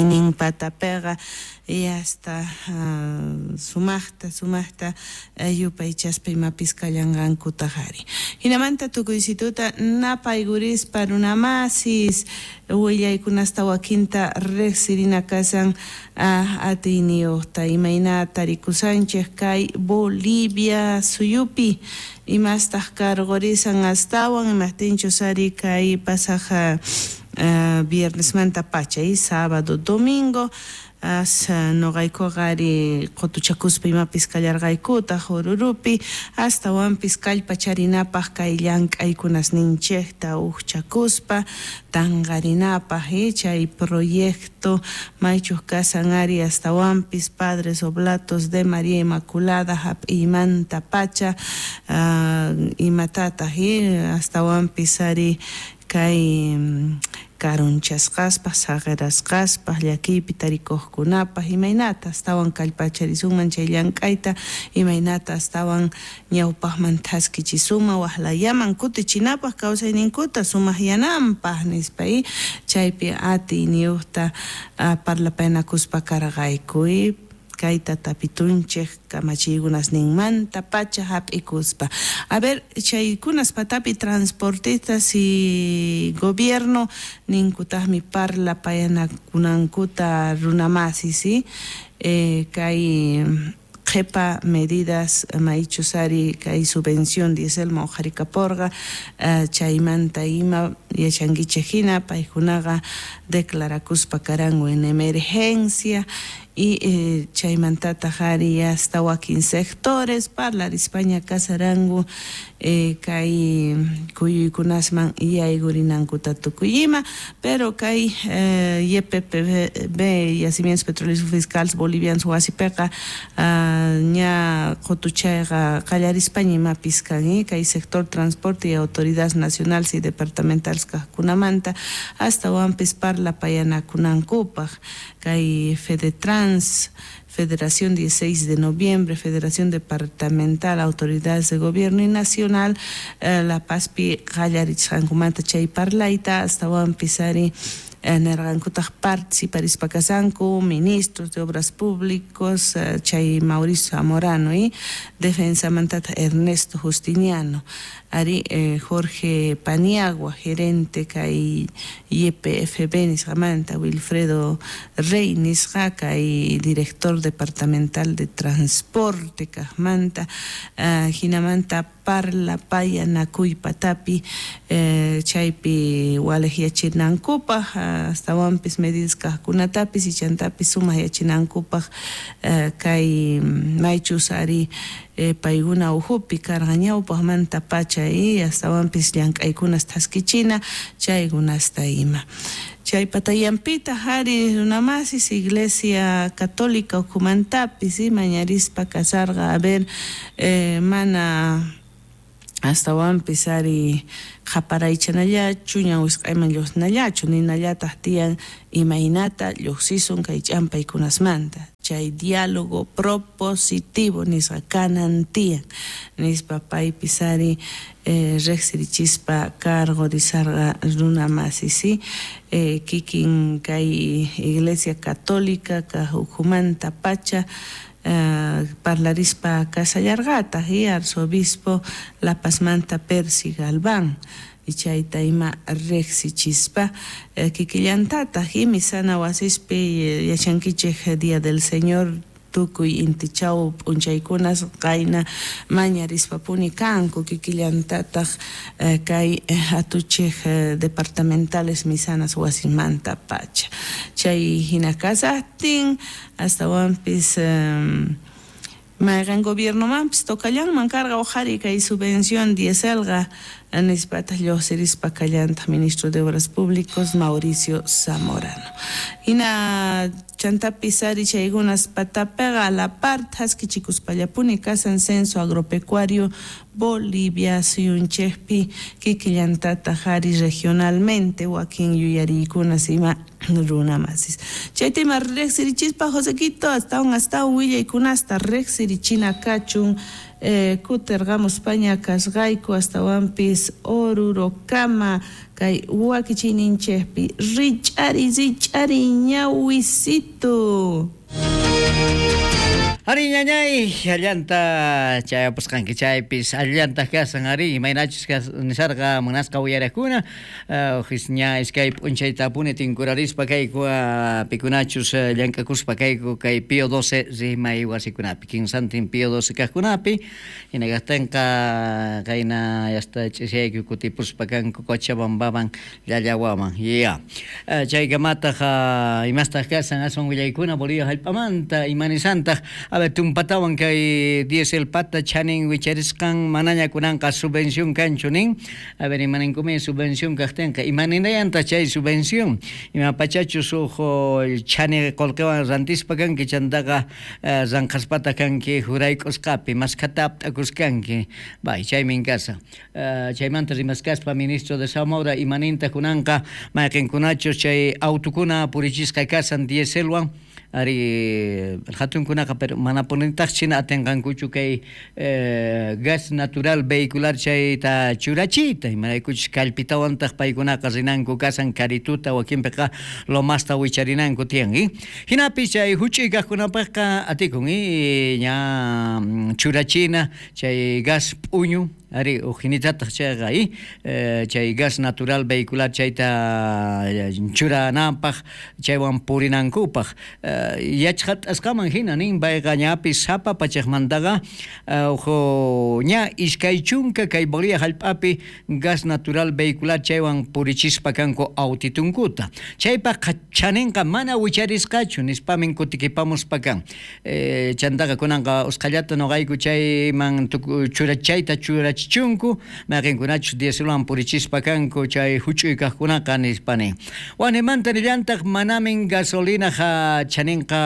Nin patapiqa yasta sumajta sumajta yupaychaspa imapis kallanqankutaj ari. Jinamanta tukuysituta napaykurispa runamasis willaykunasta wakinta rejsirina kashan atiyniyojta imayna tarikushanchej kay Bolivia suyupi imastaj karqorisan astawan imajtinchus ari kay pasaj viernesmanta pacha y sábado domingo as noqaykuqa ari qotuchakuspa imapis kallarqaykutaj Orurupi astawanpis kallpacharinapaj kay llank'aykunasninchejta ujchakuspa tanqarinapaj chay proyecto maychuj kasan ari astawanpis Padres Oblatos de María Inmaculada hap'iymanta pacha imatataj astawanpis ari kay karunchasqaspaj saqerasqaspaj llakiypi tarikuqkunapaj imaynata astawan kallpacharisunman chay llank'ayta imaynata astawan ñawpaqman thaskichisunman waqlayaman kutichinapaj kawsayninkuta sumaqyananpaj nispa chaypi atiyniyuqta parlapaynakuspa karqayku kayta tapitunchej kamachiykunasninmanta pacha hap'ikuspa. A ver, chaykunas patapi transportistas y gobierno ninkutajmi parlapayanakunankuta runamasis, ¿sí? Kay qhepa medidas maychus ari kay subvención dieselman uqharikaporqa chaymanta ima yachankichej hina paykunaqa declarakuspa karanku en emergencia y chaymantataj ari hasta wakin sectores parlarispaña kasaranku kay kuyuykunasman yaykurinankuta tukuy ima, pero kay YPPB Yacimientos Petróleos Fiscales Bolivianos wasipiqa ña qotuchayqa qallarispaña imapis kan kay sector transporte y autoridades nacionales y departamentales kajkunamanta astawanpis parlapayanakunankupaj kay Fedetrans, Federación 16 de Noviembre, Federación Departamental, Autoridades de Gobierno y Nacional, La Pazpi qallarichisqankumanta chay parlayta astawanpis ari nerqankutaj participarispa kasanku ministros de Obras Públicos chay Mauricio Zamorano y defensamantataq Ernesto Justiniano ari Jorge Paniagua, gerente kay YPFB nisqamanta, Wilfredo Rey nisqa kay director departamental de transporte kajmanta, jinamanta parlapayanakuy patapi chaypi walejyachinankupaj astawanpis medidas kajkunatapis y chantapis sumaq yachinankupaj kay maychus ari paykuna ujupi karqa ñawpaqmanta pacha y astawanpis llank'aykunas thaskichina chaykunasta ima. Chay patayanpitaj ari runamasis Iglesia Católica ukhumantapis mañarispa kasarqa a ver mana astawanpis ari qhaparaychanallachu ñawisq'ayman lluqsinallachu ninallataj tiyan imaynata lluqsisun kay ch'ampaykunasmanta chay diálogo propositivo nisqa kanan tiyan nispa paypis ari rejsirichispa karqorisarqa runamasis kikin kay Iglesia Católica kaj ukhumanta pacha parlarispa kasallarqataj y arzobispo La Pazmanta Percy Galván y chayta ima rejsichispa kikillantataj y misana wasispi yachankichej Día del Señor tukuy intichaw p'unchaykunas qayna mañarispapuni kanku kikillantataj kay atuchej departamentales misanas wasimanta pacha chay hina kasajtin astawanpis mayqan gobiernomanpis tokallanman karqa uqhari kay subvención dieselqa nispataq lluqsirispa kallantaj ministro de Obras Públicos Mauricio Zamorano. Hina chantapis ari chaykunas patapiqa a la par thaskichikuspallapuni kasan censo agropecuario Bolivia suyunchejpi kikillantataj ari regionalmente wakin yuyariykunas ima runamasis. Chayta ima rejsirichispa Josequito astawan astawan willaykunasta rejsirichina kachun kuterqamuspaña kasqayku astawanpis Orurokama Kay wakichiyninchikpi rich'ari rich'ari ñawisitu. Ari ñañay, allanta chayapusqanki chaypis allantaq kasan ari imaynachus nisarqa munasqa uyariqkuna ña iskay p'unchaytapuni tinkurarispa kayku pikunachus llank'akuspa kayku kay Pío 12 rimay wasikunapi kinsantin Pío 12 kaqkunapi hina kaqtinqa qayna yasta ch'isiyayku kutipuspa kanku Cochabambaman Llallawaman ya chaykamataq imastaq kasan aswan willaykuna Bolivia hallp'amanta imanisantaq. A ver, tumpatawan kay dieselpata chanin wicharisqan manaña kunanqa subvención kanchu nin. A ver, imaninkumi subvención kaqtinqa imaninayantaq chay subvención ima pachachus huk chani qullqiwan rantispa kanki chantaqa ranqhaspataq kanki jurayk'usqapi maskhata apt'akuskanki bay chaymin kasan. Chaymanta rimaskaspa ministro de Zamora imanintaq kunanqa mayqinkunachus chay autukuna purichisqa kasan dieselwan ari hatunkunaqa pero manapunitaq china atinqankuchu kay gas natural vehicular chayta churachiyta imaraykuchus kallpitawantaq paykunaqa rinanku kasan karituta wakinpiqa lomasta wicharinanku tiyan hinapis chay huch'uy kaqkunapaqqa atikun ña churachina chay gas p'uñu ari ujinitataq chayqa chay gas natural vehicular chayta churananpaq chaywan purinankupaq yachqat'asqaman hina nin payqa ñapis sapa pachaqmantaqa ña iskay chunka kay Bolivia hallp'api gas natural vehicular chaywan purichispa kanku autitunkuta chaypaq chaninqa mana wicharisqachu nispamin kutikipamuspa kan chantaqa kunanqa usqhallata nuqayku chayman churachayta churachichunku mayqinkunachus dieselwan purichispa kanku chay huch'uy kaqkunaqa nispa nin wanimanta nillantaq manamin gasolinaqa chaninqa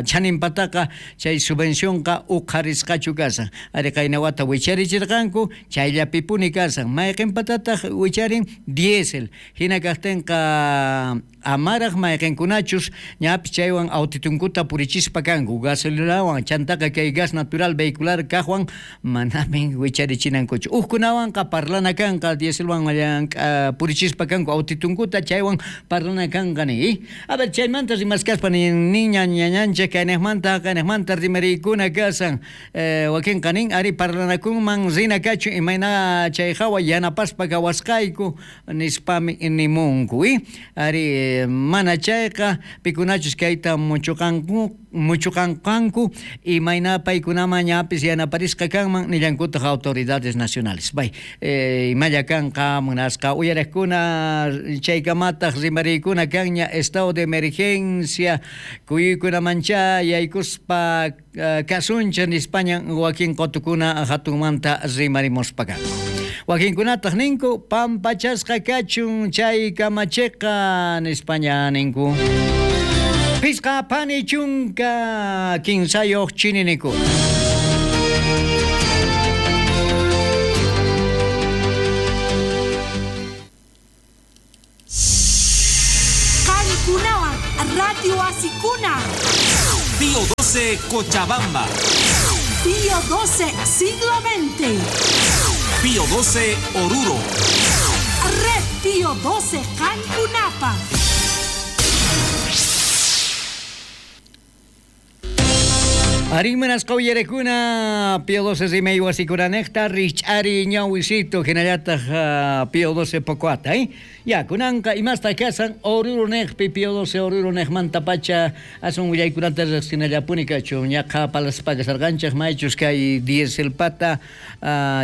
chaninpataqa chay subvencionqa uqharisqachu kasan ari qayna wata wicharichirqanku chayllapipuni kasan mayqinpatataq wicharin diésel hina kaqtinqa amaraq mayqinkunachus ñapis chaywan autitunkuta purichispa kanku gasolinawan chantaqa kay gas natural vehicular kaqwan manamin wicharichinankuchu hukkunawanqa parlana kanqa dieselwan purichispa kanku autitunkuta chaywan parlana kanqa ni a ver chaymanta rimaskaspa niña ñañanchik kayniqmanta rimariykuna kasan wakinqa nin ari parlanakunman rina kachu imayna chay hawa yanapaspa kawasqayku nispami nimunku ari mana chayqa pikunachus kayta muchuqanqanku imayna paykunaman ñapis yanaparisqa kanman nillankutaq autoridades nacionales bay imalla kanqa munasqa uyariqkuna chaykamataq rimariykuna kanña estado de emergencia kuyuykunamancha yaykuspa kasuncha nispaña wakin qotukuna hatunmanta rimarimuspa kanku wakinkunataq ninku pampachasqa kachun chay kamachiqa nispaña ninku pisqa pani chunka kinsayuq chininiku. Qankunawan Radio Wasikuna. Pío 12 Cochabamba. Pío 12 Siglo XX. Pío 12 Oruro. Red Pío 12 Cancunapa. Arimanas qawyarekuna Pío 12 rimay wasikunanejta rich'ari ñawisito hinallataq Pío 12 Pocoata ya kunanqa imasta kasan Oruro nejpi Pío 12 Oruro nejmanta pacha asun willaykunata riqsinallapuni kachu ñaqa palaspa kasarqanchik maychus kay dieselpata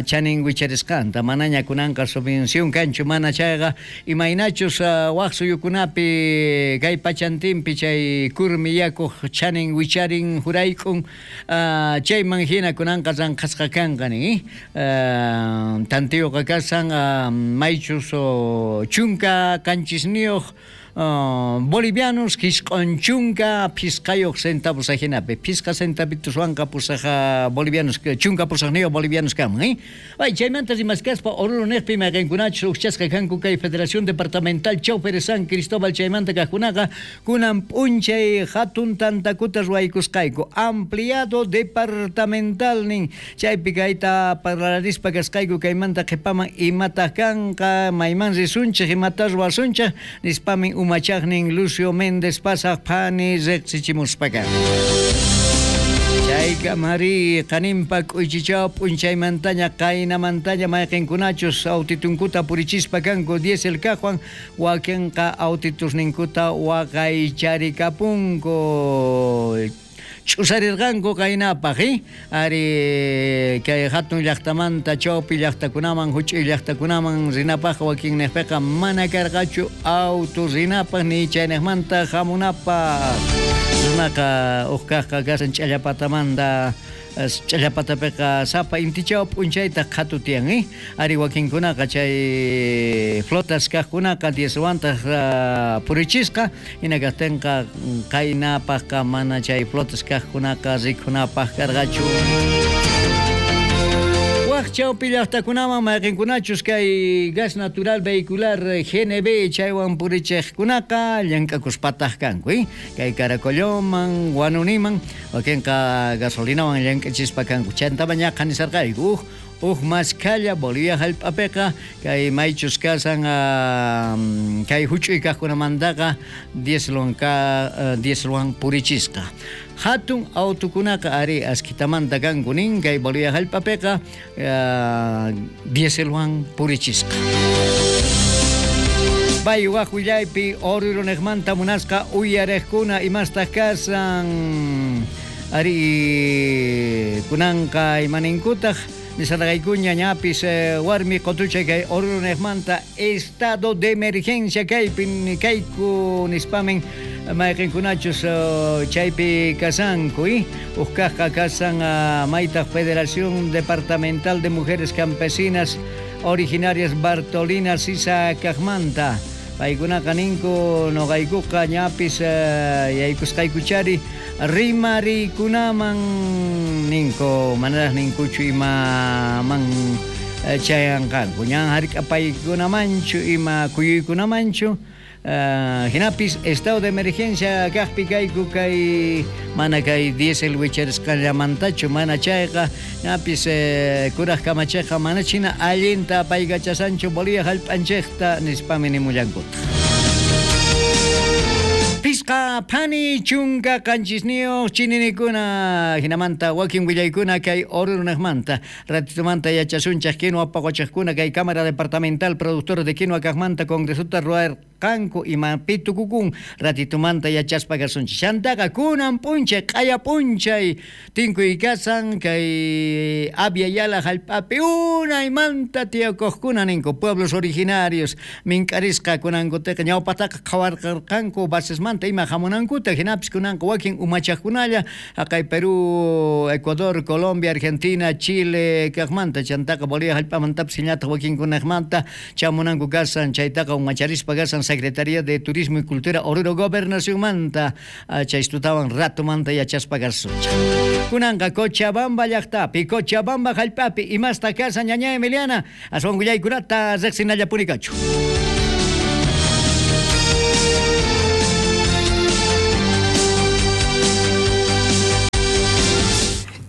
chanin wicharisqanta manaña kunanqa subvención kanchu mana chayqa imaynachus waq suyukunapi kay pachantinpi chay kurmi yakuq chanin wicharin jurayk'un chayman hina kunanqa ranqhasqa kanqa nin tantiyuqa kasan maychus chunka qanchisniyuq bolivianos jisq'un chunka phisqayuq centavos ajinapi phisqa centavituswanqa pusaj bolivianos chunka pusajniyuq bolivianos kaman Ay, chaymanta rimaskaspa Oruro niqpi mayqinkunachus ujchasqa kanku kay Federación Departamental Choferes San Cristóbal chaymanta kaqkunaqa kunan p'unchay hatun tantakuta ruwaykusqayku ampliado departamental nin chaypi kayta parlarispa kasqayku kaymanta qhipaman imataq kanqa mayman risunchik imata ruwasunchik nispamin umachaqnin Lucio Méndez pasaq phani riqsichimuspaka. Chaykamari qaninpa k'uychichaw p'unchaymantaña qaynamantaña mayqinkunachus autitunkuta purichispa kanku diésel kaqwan wakinqa autitusninkuta waqaycharikapunku ch'usarirqanku qaynapaq ari kay hatun llaqtamanta chawpi llaqtakunaman huch'uy llaqtakunaman rinapaq wakinniqpiqa mana karqachu auto rinapaq ni chayniqmanta hamunapaq runaqa uq kaqqa kasan ch'allapatamanta ch'allapatapiqa sapa intichaw p'unchaytaq qhatu tiyan ari wakinkunaqa chay flotas kaqkunaqa dieselwantaq purichisqa hina kaqtinqa qaynapaqqa mana chay flotas kaqkunaqa rikhunapaq karqachu. Waq chawpi llaqtakunaman mayqinkunachus kay gas natural vehicular GNB chaywan purichiqkunaqa llank'akuspataq kanku kay Caracolloman Huanuniman wakinqa gasolinawan llank'achispa kanku chantama ñaqa nisarqayku uj maskalla Bolivia hallp'apiqa kay maychus kasan kay huch'uy kaqkunamantaqa dieselwan purichisqa hatun autukunaqa ari askitamanta kanku nin kay Bolivia hallp'apiqa dieselwan purichisqa. Bay waq willaypi Oruro niqmanta munasqa uyariqkuna imastaq kasan ari kunanqa imaninkutaq nisarqaykuña ñapis warmi qotuchay kay Oruro niqmanta estado de emergencia kaypi kayku nispamin mayqinkunachus chaypi kasanku uq kaqqa kasan maytaq Federación Departamental de Mujeres Campesinas Originarias Bartolina Sisa kaqmanta paykunaqa ninku nuqaykuqa ñapis yaykusqaykuchari rimarikunaman ninku manaraq ninkuchu imaman chayanqanku ñan hark'apaykunamanchu ima kuyuykunamanchu hinapis estado de emergencia kaqpi kayku kay mana kay diésel wicharisqallamantachu mana chayqa ñapis kuraq kamachiqqa mana china allinta paykachasanchu Bolivia hallp'anchikta nispami nimullankutaq. Pisqa phani chunka qanchisniyuq chininikuna hinamanta wakin willaykuna kay Oruro niqmanta ratitumanta yachasunchik quinua paqochiqkuna kay Cámara Departamental Productora de Quinua kaqmanta congresuta ruwarqanku imapi tukukun ratitumanta yachaspa kasunchik chantaqa kunan p'unchay q'aya p'unchay tinkuy kasan kay Abya Yala hallp'api unaymanta tiyakuqkuna ninku pueblos originarios mink'arisqa kunankutiqa ñawpataqa qhawarqarqanku basesmanta ima hamunankuta hinapis kunanqa wakin umachaqkunalla haqay Perú, Ecuador, Colombia, Argentina, Chile kaqmanta chantaqa Bolivia hallp'amantapis hinallataq wakinkunaqmanta chamunanku kasan chaytaqa umacharispa kasan Secretaría de Turismo y Cultura Oruro Gobernacionmanta chaystutawan ratumanta yachaspa kasunchik. Kunanqa Cochabamba llaqtapi Cochabamba hallp'api imasta kasan ñaña Emiliana aswan willaykunata riqsinallapuni kachu.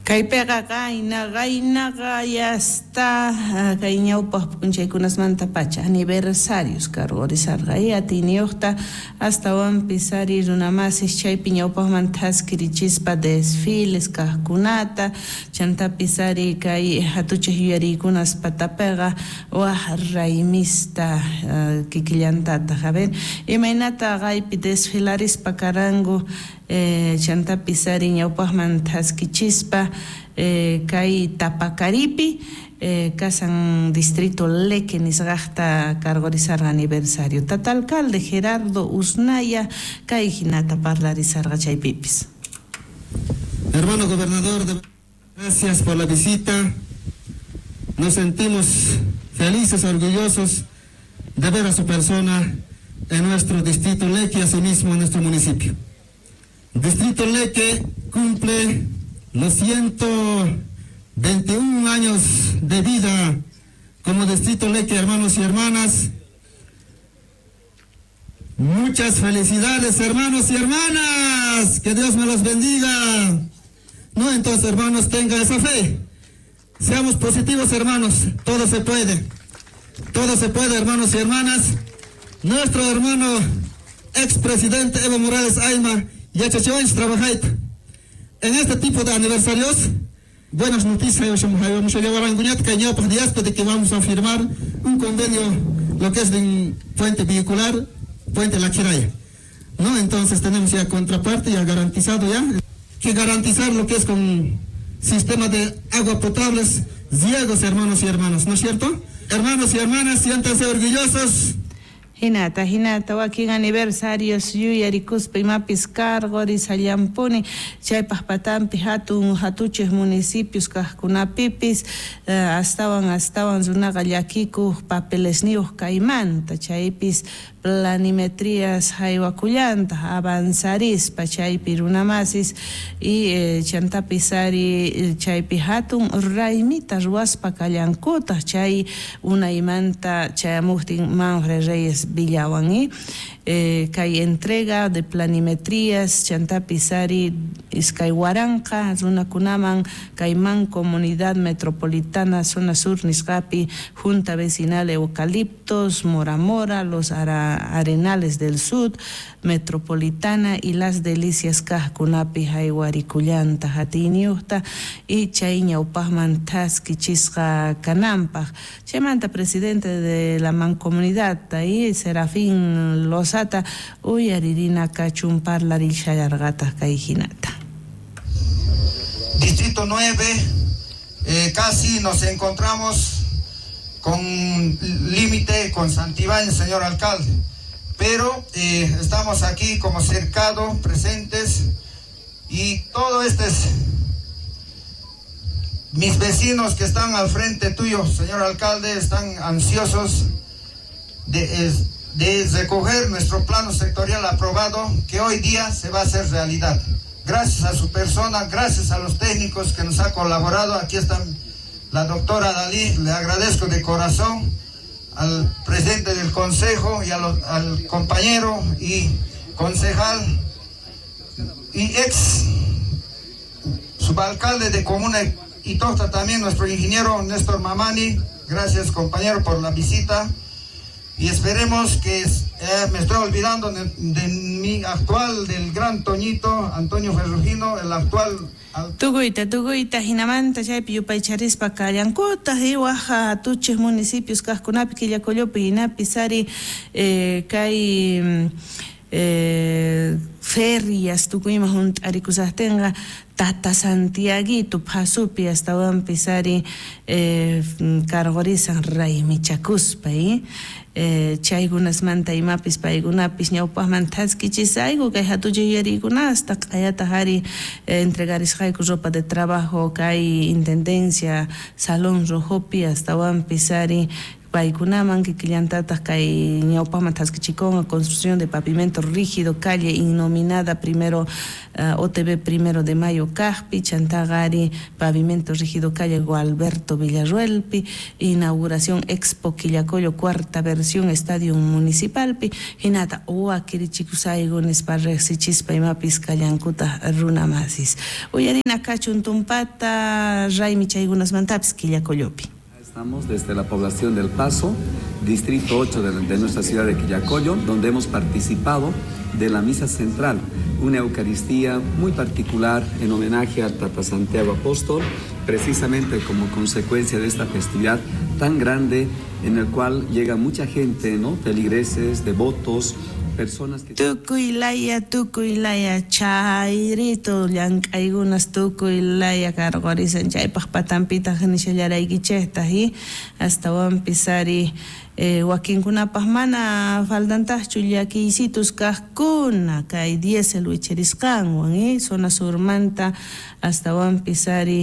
Kaypiqa qaynaqa yasta kay ñawpaq p'unchaykunasmanta pacha aniversarios karqurisarqa atiyniyuqta astawanpis ari runamasis chaypi ñawpaqman thaskirichispa desfiles kaqkunata chantapis ari kay hatuchaq yuyariykunas patapiqa waq raymista kikillantataq a ver imaynata qaypi desfilarispa karanku chantapis ari ñawpaqman thaskichispa kay Tapacaripi kasan distrito Leque nisqaqta karqurisarqa aniversario tata alcalde Gerardo Usnaya kay hinata parlarisarqa chaypipis. Hermano gobernador, gracias por la visita. Nos sentimos felices, orgullosos de ver a su persona en nuestro distrito Leque, asimismo en nuestro municipio. Distrito Leque cumple los 121 años de vida como Distrito Leque, hermanos y hermanas. Muchas felicidades, hermanos y hermanas. Que Dios me los bendiga. No, entonces, hermanos, tengan esa fe. Seamos positivos, hermanos. Todo se puede. Todo se puede, hermanos y hermanas. Nuestro hermano expresidente Evo Morales Ayma, yachachiwanchis trabajaita. En este tipo de aniversarios, buenas noticias, vamos a llevar a de que vamos a firmar un convenio, lo que es de puente vehicular, Puente La Quiraya. ¿No? Entonces tenemos ya contraparte, ya garantizado ya, que garantizar lo que es con sistema de agua potables, ciegos, hermanos y hermanas, ¿no es cierto? Hermanos y hermanas, siéntanse orgullosos. Hinata, hinata, wakin aniversarios yuyarikuspa imapis cargorisallampuni, chaypaj patampi hatun hatuchej municipios kajkunapipis, astawan astawan runaqa llakikuj papelesniyuj kaymanta, chaypis planimetrías haywakullanta avanzarispa chaypi runamasis y chantapis ari chaypi hatun raymita ruwaspa kallankutaj chay unaymanta chayamujtin Manfred Reyes Villawan kay entrega de planimetrías chantapis ari iskay waranqa runakunaman kayman comunidad metropolitana zona sur nisqapi junta vecinal Eucaliptos, Mora Mora, los Arenales del Sur, Metropolitana y Las Delicias kajkunapi haywarikullanta hatiniyuqta y chay ñawpajman thaskichisqa kananpaj. Chaymanta presidente de la mancomunidad y Serafín Lozata uyaririna kachun parlarishallarqataj kay hinata. Distrito 9, casi nos encontramos con límite con Santibáñez, señor alcalde, pero estamos aquí como cercado, presentes, y todo este es mis vecinos que están al frente tuyo, señor alcalde, están ansiosos de recoger nuestro plano sectorial aprobado, que hoy día se va a hacer realidad. Gracias a su persona, gracias a los técnicos que nos ha colaborado. Aquí están la doctora Dalí, le agradezco de corazón al presidente del consejo y al compañero y concejal y ex subalcalde de Comuna Itota también, nuestro ingeniero Néstor Mamani. Gracias, compañero, por la visita. Y esperemos que, me estoy olvidando de mi actual, del gran Toñito, Antonio Ferrugino, el actual... Tukuyta, tukuyta, hinamanta chaypi yupaycharispa kallankutaj y waj hatuchej municipios kajkunapi Quillacollopi hinapis ari kay ferias tukuyma junt'arikusajtinqa Tata Santiaguito phasupi astawanpis ari cargorisan raymichakuspa chaykunasmanta imapis paykunapis ñawpajman thaskichisayku kay hatuchay yuyarikunasta q'ayataj ari entregarisqayku ropa de trabajo kay intendencia Salón Rojopi astawanpis ari paykunaman kikillantataq kay ñawpajman thaskichikunqa construcción de pavimento rígido calle innominada primero OTB 1 de mayo kajpi chantaqa ari pavimento rígido calle Gualberto Villarruelpi inauguración Expo Quillacollo cuarta versión estadio municipalpi hinata wakirichikusayku nispa riqsichispa imapis kallankutaq runamasis uyarina kachun tumpata raymi chaykunasmantapis Quillacollopi. Estamos desde la población del Paso, distrito 8 de nuestra ciudad de Quillacollo, donde hemos participado de la misa central, una Eucaristía muy particular en homenaje al Tata Santiago Apóstol, precisamente como consecuencia de esta festividad tan grande en el cual llega mucha gente, ¿no? Feligreses, devotos, personas que... Tukuy laya, chayrito, llank'aykunas tukuy laya cargorisan chaypaj patanpitaj nishallaraykichejtaj y astawanpis ari wakinkunapaj mana faltantajchu llakiysitus kajkuna kay diésel wicharisqanwan zona surmanta astawanpis ari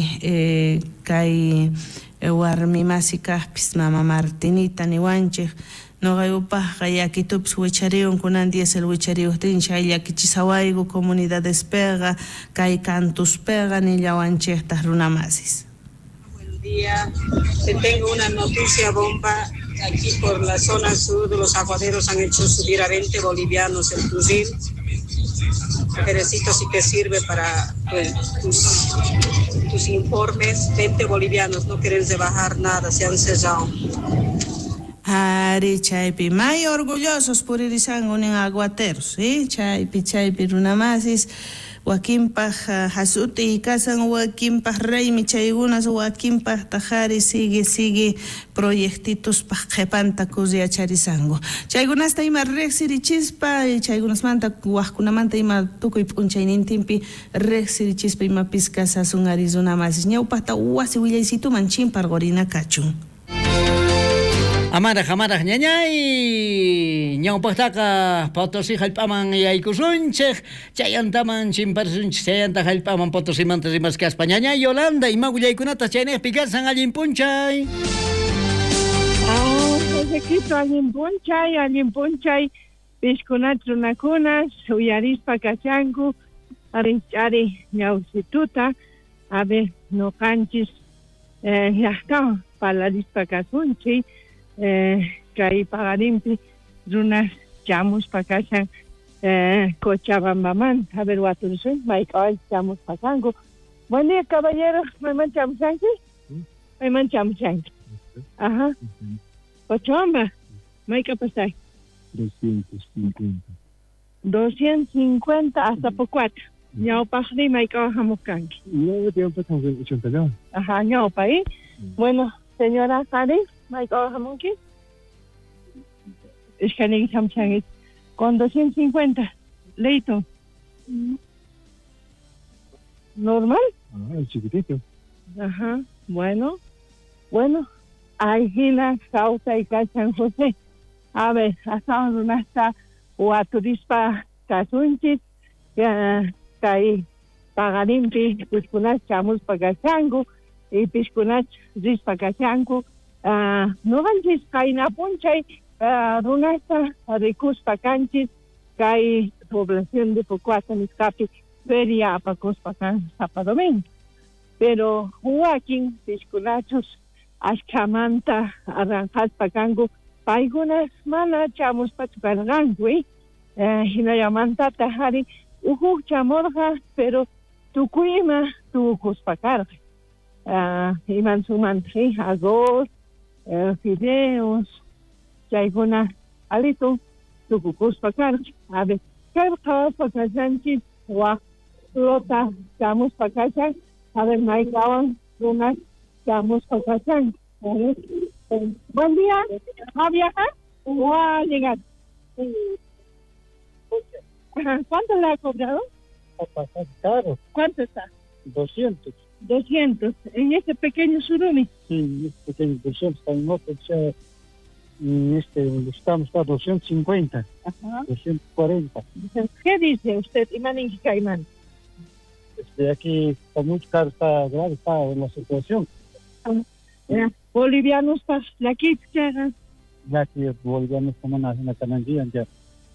kay warmi masi kajpis mama Martinita niwanchej. Noqaykupaqqa yakitupis wichariyun kunan diésel wichariyuqtin chay llakichisawayku comunidadespeqa kay kantuspeqa nillawanchiktaq runamasis. Buen día, te tengo una noticia bomba. Aquí por la zona sur de los aguaderos han hecho subir a 20 bolivianos el fusil. Perecito, si te sirve para pues, tus informes, 20 bolivianos, no quieren rebajar nada, se han cerrado. Ari, chaypi may orgullosos puririsanku nin aguateros, ¿sí? Chaypi runamasis, wakinpaj hasuti kasan, wakinpaj raymi chaykunas, wakinpaj tajari sigue proyectituspaj qhepanta kurriacharisanku. Chaykunasta ima riqsirichispa, chaykunasmanta wajkunamanta ima tukuy p'unchaynintinpi riqsirichispa imapis kasasun ari runamasis. Ñawpajta wasi willaysituman chimparqurina kachun. Amaraj, amaraj, ñañay, ñawpaqtaqa Potosí hallp'aman yaykusunchik, chayantaman chimparsunchik, chayanta hallp'aman Potosimanta rimaskaspa. Ñañay Yolanda, ima willaykunata chaynejpi kasan allin p'unchay. Josequito, allin p'unchay, pishkunat runakunas, uyarispa kashanku, arich'ari ñawsituta, a ver, noqanchis, llaqtawan parlarispa kasunchik. Kay paqarinpi runas chamuspa kashan Cochabambamanta, a ver, waturusun, mayk'away chamuspa kanku. Buen día, caballero, mayman chamushanki? Mayman chamushanki. Ajá. Cochabamba, mayk'a pasay? 250. 250 hasta Pocuata. Ñawpaqri mayk'awan hamuq kanki. No, tiempo 82. Ajá, ñawpa, ¿eh? Bueno, señora Jari, mayk'awan hamunki? Ishkaniki chamushanki. Con 250, Leito. ¿Normal? Ah, el chiquitito. Ajá, bueno. Bueno, Aijina, Causa y San José. A ver, hasta runasta waturispa kasunchis, kay paqarinpi pishkunach chamuspa kashanku, y pishkunach rispa kashanku. Noqanchis qayna p'unchay runasta rikuspa kanchis kay población de Pocuata nisqapi feria apakuspa kan sapa domingo. Pero wakin pishkunachus ashkhamanta arranjaspa kanku, paykunas mana chamuspachu karqanku, hinallamantataq ari ujuk chamurqa, pero tukuy ima tukuspa karqa. Imansumanta, arroz, fideos, chaykuna alito tukukuspa karqa. A ver, kay qhawaspa kashanchis wak flota chamuspa kashan, a ver, mayk'awan runas chamuspa kashan. Buen día, ¿va a viajar o va a llegar? ¿Cuánto le ha cobrado? Caro. ¿Cuánto está? 200. 200, en este pequeño surumi. Sí, en este pequeño 200, está en otro, o sea, en este donde estamos está 250. Ajá. 240. ¿Qué dice usted, Imán Inquicaimán? Aquí está muy caro, está grave, está en la situación. Bolivianos pa la kitchaga. Ya que bolivianos como una cananguía ya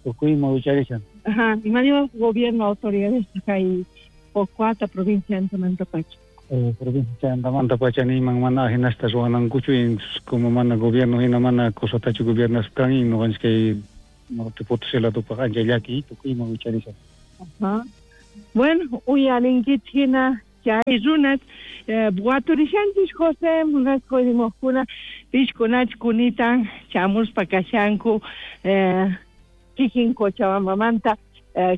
tukuyma wicharishan. Ajá, y mañana gobierno autoridades hay Pocuata provincia Antamantapacha. Provincia Antamantapacha ni man mana hinasta ruwanankuchu como mana gobierno hina mana cosatachu gobiernas kan y no que norte Potosí ladupaq ancha llaki tukuyma wicharishan. Ajá. Bueno, uyarinkichik hina chay runas waturishanchis José munasqa rimaqkuna pishkunach kunitan chamuspa kashanku kikin Cochabambamanta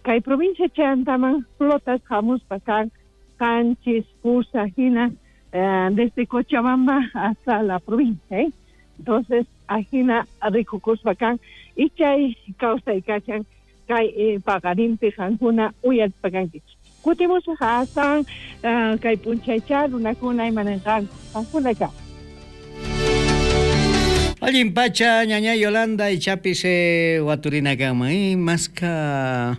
kay provincia chayantaman flotas hamuspa kan qanchis pusa hina desde Cochabamba hasta la provincia, ¿eh? Entonces ajina rikukuspa kan y chay kawsay kashan kay paqarinpi qankuna uyarispa kankichik. Kutimusaq asan kay p'unchaycha runakuna imananqanku qankuna ka. Allin pacha ñaña Yolanda ichapis waturina kanman maska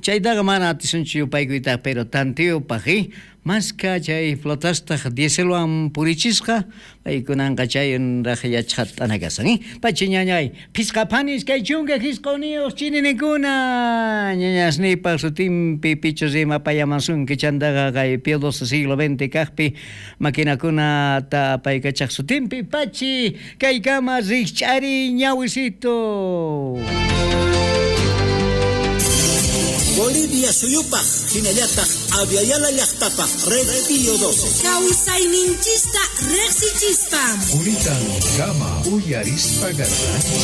Chaytaqa mana atisunchu yupaykuyta, pero tantiyupaq, maska chay flotastaq dieselwan purichisqa, paykunanqa chayraq yachaqat'ana kasan, Pachi ñañay, phisqa phani 29 chininikuna, ñañasniypaq sutinpi pichus rimapayamasunki chantaqa kay Pío XII siglo XX kaqpi maquinakunata apaykachaq sutinpi, pachi kaykama rikch'ariy ñawisito. Bolivia suyupaj, hinallataq Abya Yala llaqtapaj Red Pío 12. Kawsayninchista riqsichispa. Quritan kama uyarispa garranchik.